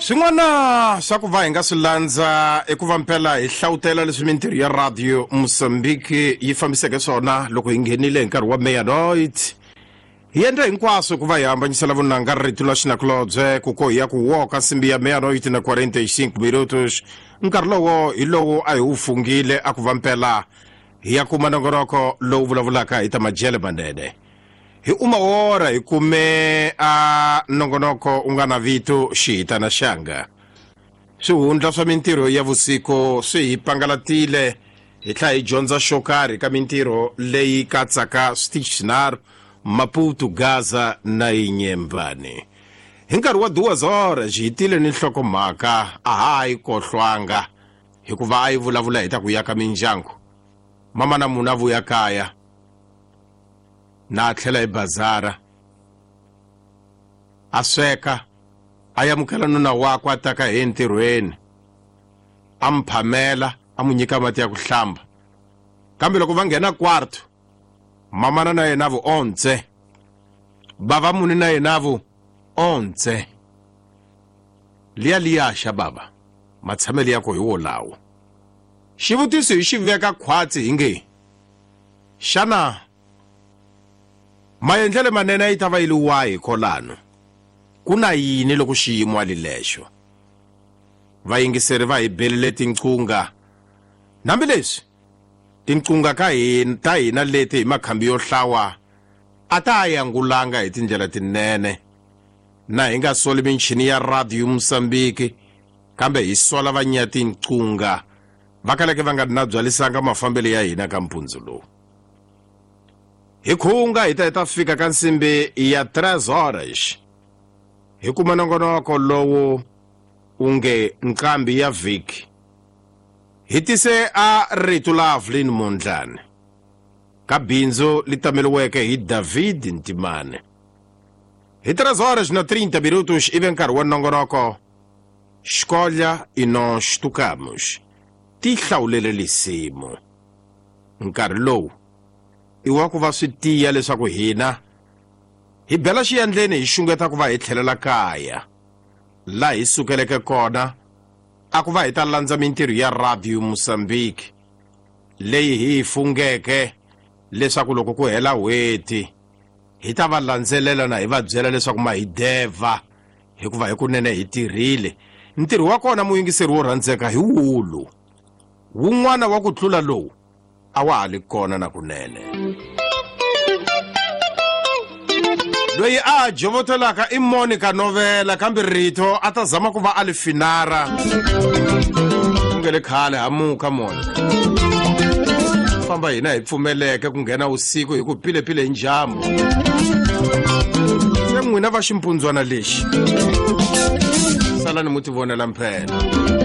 Swin'wana swa ku va hi nga swi landza i ku va mpela hi hlawutela leswi mintirho ya Radio Mozambique yi fambiseke swona loko hi nghenile hi nkarhi wa meia-noite. Hi endle hinkwaswo ku va hi hambanyisela vunanga rito la xinakulobye ku ko hi ya ku woka nsimbi ya meia-noite na 45 minutos. Nkarhi lowo hi lowu a hi wu fungile a ku va mpela hi ya kuma nongonoko lowu vulavulaka hi ta majele manene. Hi uma hora hi kume a nongonoko u nga na vito xihitana xanga. Swihundla swa mintirho ya vusiku swi hi pangalatile hi tlhela hi dyondza xo karhi ka mintirho leyi katsaka switichi swinharhu, Maputo, Gaza na Inyembani. Hi nkarhi wa duas horas hi tile ni nhlokomhaka a ha yi kohlwanga hikuva a yi vulavula hi ta ku yaka mindyangu. Mama na munhu a vuya kaya na a tlhela hi bazara a sweka a yamukela nuna wakwe a taka hi entirhweni a mu phamela a mu nyika mati ya ku hlamba. Kambe loko va nghena kwarto mamana na yena vu ontse, bava muni na yena vu ontse. Liya liya xa bava matshamelo ya ko hi wolawo. Xivutiso hi xi veka khwatsi hi nge xana maendlelo manene yi ta va yi li wahi kolano? Ku na yini loko xiyimo a li lexo? Vayingiseri va hi belele tinqunga. Hambileswi tinqunga ka hina ta hina leti hi makhambi yo hlawa a ta yangulanga hi tindlela tinene. Na hi nga soli michini ya Radio Mozambique kambe hi sola vanya tinqunga va kaleke va nga na byalisanga mafambelo ya hina ka mpundzu lowu. Hi khunga hi ta hi ta fika ka nsimbi ya 3 horas hi kuma nongonoko lowu u nge nqambi ya vhiki. Hi tise a rito la Evelyn Mondlane ka bindzu li tameliweke hi David Ntimane. Hi 3 horas na 30 minutos ive nkarhi wa nongonoko Escolha e nós tocamos. Ti hlawulele lisimu. Nkarhi lowu i wa ku va swi tiya leswaku hina hi bela xiyandleni hi xungeta ku va hi tlhelela kaya laha hi sukeleke kona a ku va hi ta landza mintirho ya Radio Mozambique leyi hi yi fungeke leswaku loko ku hela n'hweti hi ta va landzelela na hi va byela leswaku ma hi deva hikuva hikunene hi tirhile. Ntirho wa kona muyingiseri wo rhandzeka hi wulu wun'wana wa ku tlula lowu a wa ha li kona na kunene. Loyi a jovotelaka i Monica Novela kambe rito a ta zama ku va a li finara. Ku nge le khale hamuka Monica. Famba hina hi pfumeleke ku nghena usiku hi ku pilepile hi njhambu. Se n'wina va ximpundzwana lexi salani mu ti vonela mphela.